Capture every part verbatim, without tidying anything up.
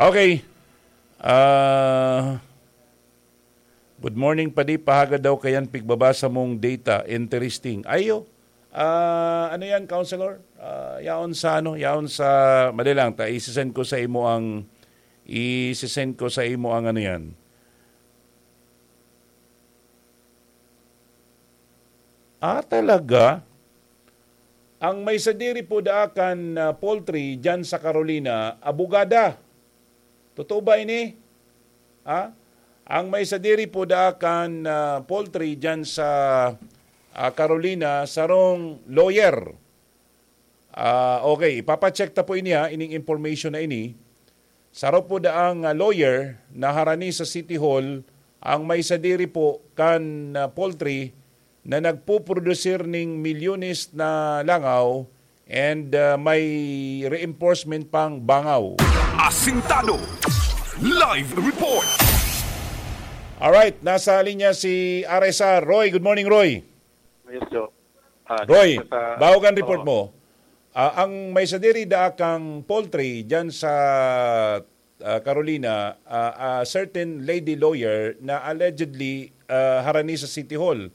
Okay. Ah, good morning, Padi. Pahagad daw kayan pigbabasa mong data. Interesting. Ayo. Ah, ano yan, counselor? Ah, yaon sa ano, yaon sa, madali lang, ta, isisend ko sa imo ang, isisend ko sa imo ang ano yan. Ah, talaga? Ang may sadiri po daakan na poultry dyan sa Carolina, abogada. Totoo ba ini? Ha? Ang may sadiri po daakan na poultry dyan sa, ah, Carolina, sarong lawyer. Ah, okay, ipapacheck ta po ini, ha, ining information na ini. Saro po daang, ah, lawyer na harani sa City Hall ang may sadiri po kan, ah, poultry na nagpuprodusir ning milyones na langaw and, ah, may reinforcement pang bangaw. Asintado. Live report. Alright, nasa linya si R S R. Roy, good morning, Roy. Yes, Joe. Ah, Roy, sa, sa, bago kan report oo. Mo, ah, ang may sadiri daakang poultry dyan sa, ah, Carolina, ah, ah, certain lady lawyer na allegedly, ah, harani sa City Hall.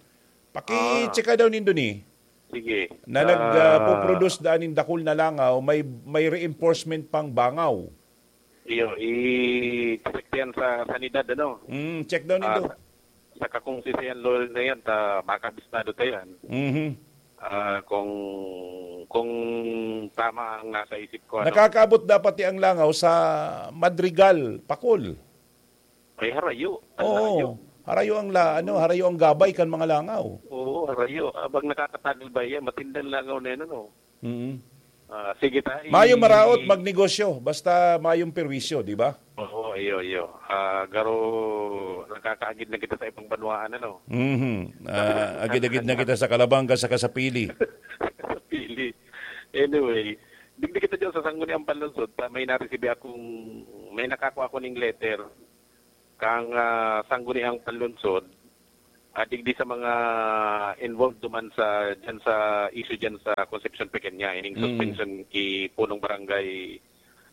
Paki-check daw nindo ni. Sige. Na nag, ah, ah, puproduce daan nin dakul na langaw, may, may reinforcement pang bangaw. Iyo, i-check yan sa sanidad, ano? Mm, check daw nindo. Ah, sa, sa kakong sisiyan, Lord, na yan, ta, makabistado ta yan. Mhm. Ah, kung, kung tama ang nasa isip ko, ano? Nakakaabot dapat ti ang langaw sa Madrigal, Pakol. Ay, harayo. Ang Oo. Harayo ang la-, ano, harayo ang gabay kan mga langaw. Oo, harayo. Abang nakakatagal ba yan? Matindan langaw na yan, ano? Mm. Ah, sige ta, i- Mayo maraot magnegosyo, basta mayong perwisyo, di ba? Oo, iyo, iyo. Ah, garo, nakakaagid na kita sa ibang banwaan, ano? Mhm. Ah, agid-agid na kita sa Calabanga, saka sa Pili. Sa Pili. Anyway, digdi kita dyan sa Sangguniang Panlungsod, ta may naresibi akong, may nakakua ako ning letter kang, ah, Sangguniang Panlungsod, ah, digdi sa mga involved duman sa, dyan sa issue dyan sa Concepcion Pequeña, ining Mm. suspension ki punong barangay,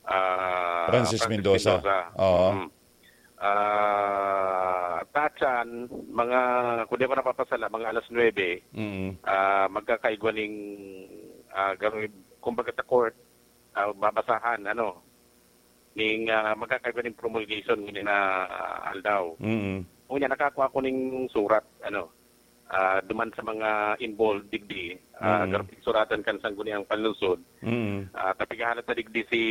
ah, Francis Francis Mendoza. Mendoza. Oo. Mm. Ah, tatsan, mga, kung di ako napapasala, mga alas nuebe, Mm. ah, magkakaigwa ning, ah, garo-, kumbaga sa court, ah, babasahan, ano, ning, ah, magkakaigwa ning promulgation ngunyan na, ah, aldaw. Mm. Ngunyan, nakakua ko ning surat, ano, ah, duman sa mga involved digdi, ah, Mm. garo pinsuratan kan Sangguniang Panlungsod. Mm. Ah, ta pighahalat na digdi si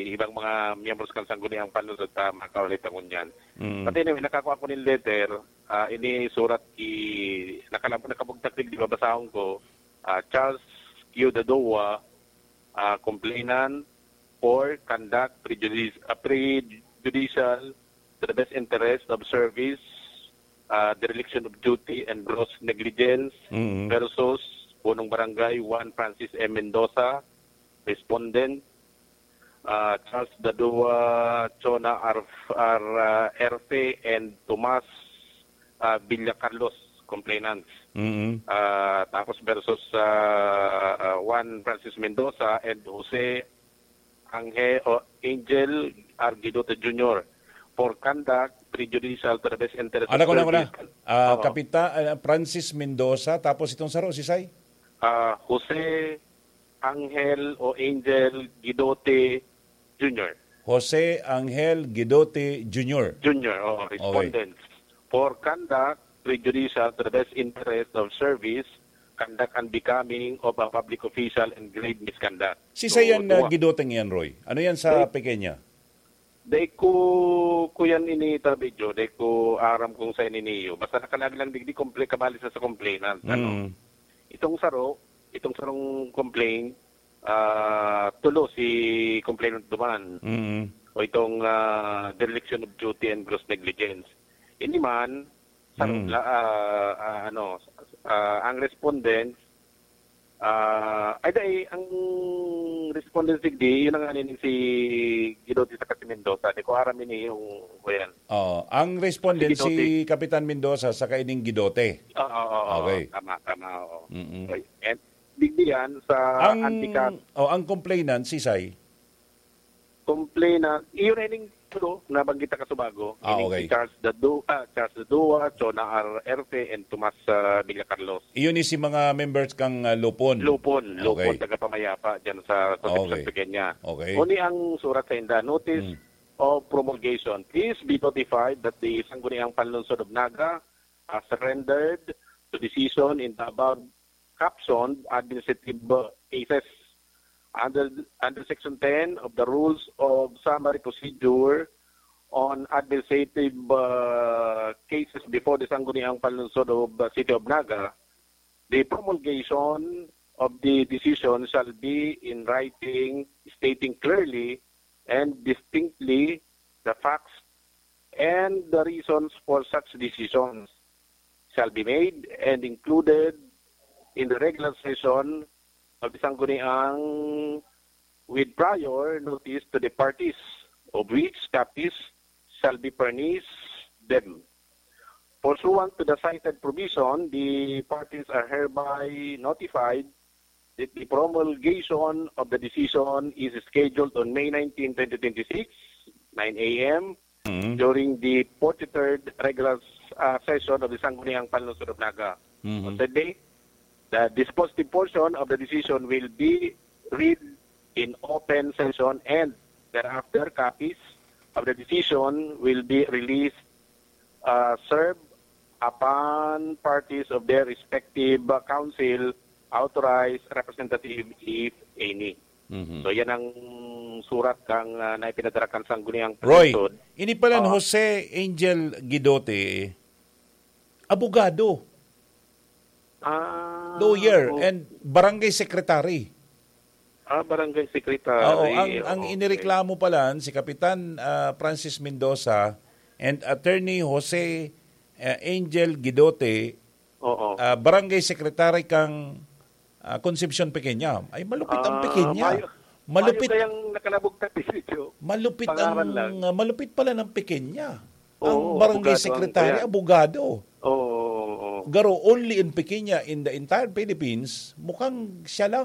ibang mga miyembros kan Sangguniang Panlungsod ta makauli ta ngunyan. Mm. But anyway, nakakua ko ning letter, ah, ini surat ki, nakalab-, nakabugtak digdi, babasahon ko, ah, Charles Q. Dadoa, ah, complainant for conduct prejudice, ah, prejudicial to the best interest of service, ah, dereliction of duty and gross negligence Mm. versus Punong Barangay one Francis M. Mendoza, respondent, ah, Charles Dadua, Chona Arf-, Ar-, ah, Erfe, and Tomas, ah, Villacarlos, complainants. Mm. Ah, tapos versus, ah, ah, Juan Francis Mendoza and Jose Ange-, o Angel Arguidote Junior for conduct prejudicial to the best interest of Ano ko na, ko na? service. Ah, Oo. Kapita-, ah, Francis Mendoza, tapos itong saro, si Sai? Ah, Jose Angel o Angel Guidote Junior. Jose Angel Guidote Junior. Junior, oh, Okay. respondents. For conduct prejudicial to the best interest of service, conduct unbecoming of a public official and grave misconduct. Si So, Sayan na duwa. Guidote yan, Roy? Ano yan sa Roy? Pequeña? Dai ko, ko yan ini, Tabidyo, dai ko aram kung sa ini niyo. Basta nakalaag lang digdi komple-, kabali sa, sa complainant, ano? Mm. Itong saro, itong sarong complaint, ah, tulo si complainant duman. Mm. O itong, ah, dereliction of duty and gross negligence. Ini man, sa Mm. la-, ah, ah, ano, ah, ang respondents, ah, ay, dai, ang respondents digdi, yun ang ano, si Guidote saka si Mendoza. Di ko aram ini yung, kuyan. Oo. Ang respondent, Si Guidote. si Kapitan Mendoza saka ining Guidote. Oo, oo, oo. Okay. Tama, tama, oo. Mm-mm. Okay. And digdi yan sa Ang, antikat. oh, ang complainant, si Sai? complainant, iyo na ining tulo na banggit ta kasubago, Ah, ining okay. si Charles Dadu-, ah, Charles Dadua, Chona R. Erte, and Tomas, ah, Villacarlos. Iyon ni si mga members kang, ah, Lupon. Lupon, Lupon, Okay. taga Pamayapa, dyan sa Concepcion, Okay. Pequeña. Okay. Uni ang surat sa inda, notice Hmm. of promulgation. Please be notified that the Sangguniang Panlungsod of Naga has surrendered to decision in the above captioned administrative, uh, cases under, under Section ten of the Rules of Summary Procedure on Administrative, uh, Cases before the Sangguniang Panlungsod of the City of Naga. The promulgation of the decision shall be in writing, stating clearly and distinctly the facts and the reasons for such decisions shall be made and included in the regular session of the Sangguniang with prior notice to the parties, of which copies shall be furnished them. Pursuant to the cited provision, the parties are hereby notified that the promulgation of the decision is scheduled on May nineteen, twenty twenty-six, nine a m, Mm. during the forty-third regular, uh, session of the Sangguniang Panlungsod of Naga. Mhm. On said day, the dispositive portion of the decision will be read in open session, and thereafter copies of the decision will be released, uh, served upon parties of their respective, uh, counsel, authorized representative, if any. Mhm. So, yan ang surat kang, uh, na ipinadara kan Sangguniang Roy, Panlungsod. Ini pala ni Ah. Jose Angel Guidote, abogado, Ah, lawyer, oh. and barangay secretary. Ah, barangay secretary. Oo, ang, ang Okay. inireklamo pala si Kapitan, ah, Francis Mendoza and Attorney Jose, ah, Angel Guidote, Oo. ah, barangay secretary kang, ah, Concepcion Pequeña. Ay, malupit ang Ah, Pequeña. mayo-, Malupit. mayo kayang nakalabog na video. Malupit Pangaran ang, lang. ah, malupit pala ng Pequeña. Ang Oo, barangay abogado ang secretary, kuya. abogado. Oo, oo, oo. Garo, only in Pequeña, in the entire Philippines, mukhang siya lang